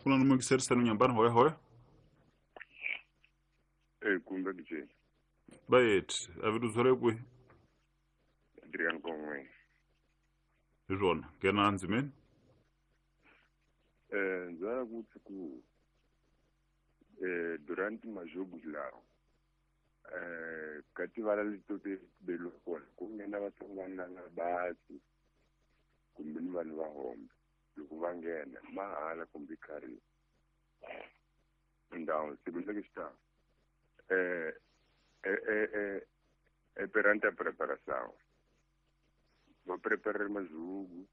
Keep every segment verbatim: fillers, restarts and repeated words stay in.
Ku na muyingiseri nyambani hoya hoya. Eh kumbe kije. Bayet, aviduzore kwi. Adrian Kongwe. Izona, ngena nzimeni. Eh nzara kuthi ku eh durante majogo lawo. Eh kati vala litote belo kona kungena vatsongwana na basi kumbe ni vanhu va hombe loko va nghena mahala kumbe khari ndhawu sibindza xita eh eh eh eh perante a preparação va preparar mazugu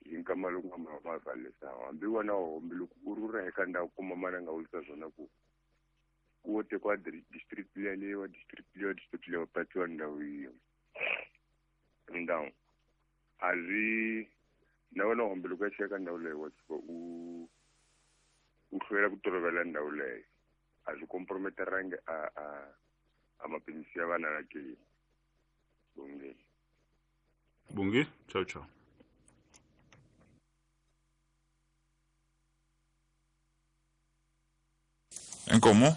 hi nkama loko ma va valesa hambi wona hombe loko u rhurha eka ndhawu kuma mana nga wisa swona ku ku te kwa district leyi wa district leyi district leyi patiwa ndhawu yiyo ndhawu a ri na wena hombe loko ya cheka ndhawu leyi wa tshuka u u hlwela ku tolovela ndhawu leyo a swi comprometterangi a a a mapinisi ya vana la ke bongile bongile ciao ciao. Inkomo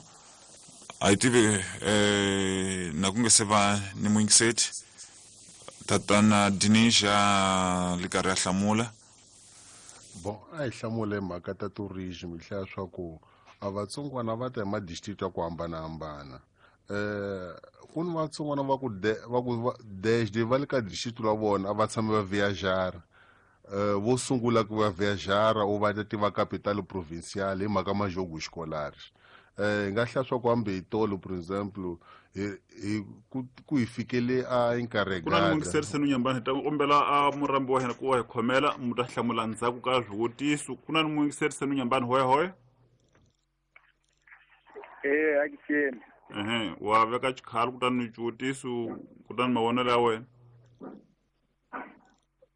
a yi tivi eh na ku nge se va ni muyingiseti tatana Dinisha li karhi a hlamula. Bon a hi hlamule mhaka ta tourism hi hlaya swa ku a vatsongwana va ta hi madistrict ya ku hambanahambana. Eh ku ni vatsongwana va ku va ku desde va le ka district la vona a va tshame va viajara. Eh vo sungula ku va viajara u va ta tiva capital provincial hi mhaka majogo escolar. Eh nga hlaya swa ku hambi hi tolo por exemple hi ku hi fikele a encarregada. Ku na muyingiseri senu nyambani hi ta kombela a murambi wa hina ku wa hi khomela mu ta hlamula ndzhaku ka swivutiso. Ku na muyingiseri senu nyambani hoya hoya. Eh akiseni. Ehe wa veka xikhalo kutani xivutiso kutani mavonelo ya wena.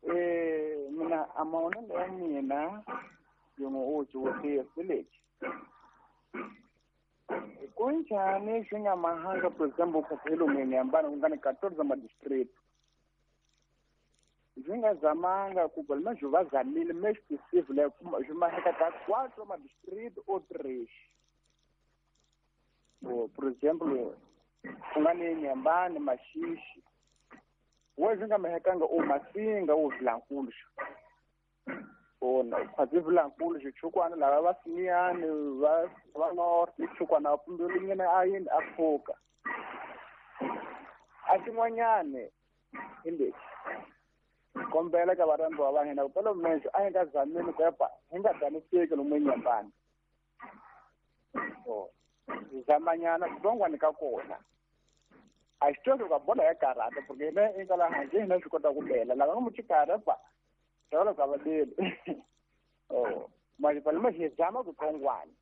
Eh mina a mavonelo ya mina yin'we u xivutiso lexi. Kunjani swi nga mahanga por exemple ku nyambani ku nga ni quatorze madistrict swi nga zamanga ku balma swi va zamile mais possible swi maheka ka quatro madistrict o três. Por exemplo ku nga ni Nyambani Maxixi we swi nga mahekanga o Masinga o Vilankulu ona khwazi Vilankulu xichukwana lava va Simiyani va va North xichukwana pumbelunyana a yini a pfuka a xin'wanyani hi lexi kombela ka varhambiwa va hina ku pelo mexo a hi nga zameni ku epa hi nga daniseki lomu eNyambani o zamanyana kutsongwani ka kona a xi tweki ka bolo ya karata porque hina eka laha handle hina swi kota ku bela lava nga muchikara pa tolo ka vadeli oh mali pale ma zama kutsongwani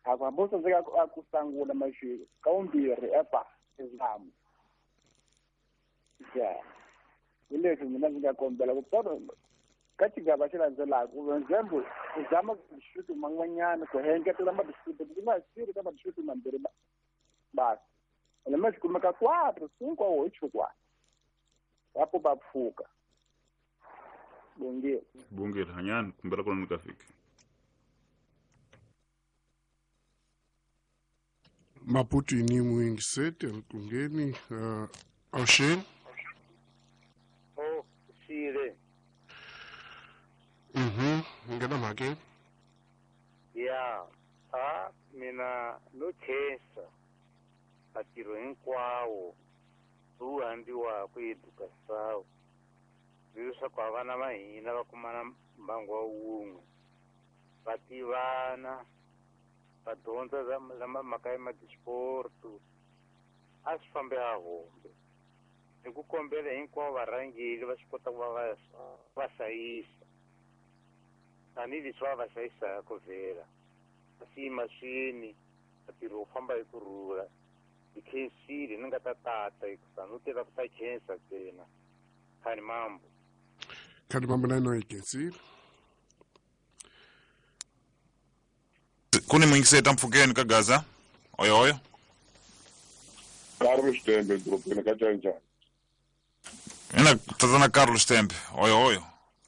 a ku hambi tsandzeka a ku sangula maxi ka vumbirhi epa zama ya hi leswi mina ndzi nga kombela ku pfuna ka xigava xi landzelaka for example u zama district man'wanyana ku engetela madistrict ku nga siri ka madistrict mambirhi basi ene ma xi kumeka quatro cinco ou oito quatro apo va pfuka. Bongile. Bongile hanyani kumbela kona ni ka fiki. Maputo ni muyingiseti alikungeni uh, Oxen. Oh, sire. Mhm, ngena mhakeni. Ya, a mina no khensa ntirho hinkwawo lowu hambiwaka edukasawu leswaku a vana va hina va kumana mbangu wa wun'we va tivana va dyondza mhaka ya madisporto a swi fambe a hombe hi ku kombela hinkwavo varhangeri va swi kota ku va va va hlayisa tanihileswi va va hlayisaka vhela va swi mahlweni ntirho wu famba hi ku rhula. Hi khensile ni nga ta tata hikusa no tela ku ta khensa ntsena khani mambo khani mambo na ino hi khensile. Ku ni muyingiseti mpfhukeni ka Gaza oyo oyo. Carlos Tembe dorobeni ka Canjani. Ina tatana Carlos Tembe oyo oyo.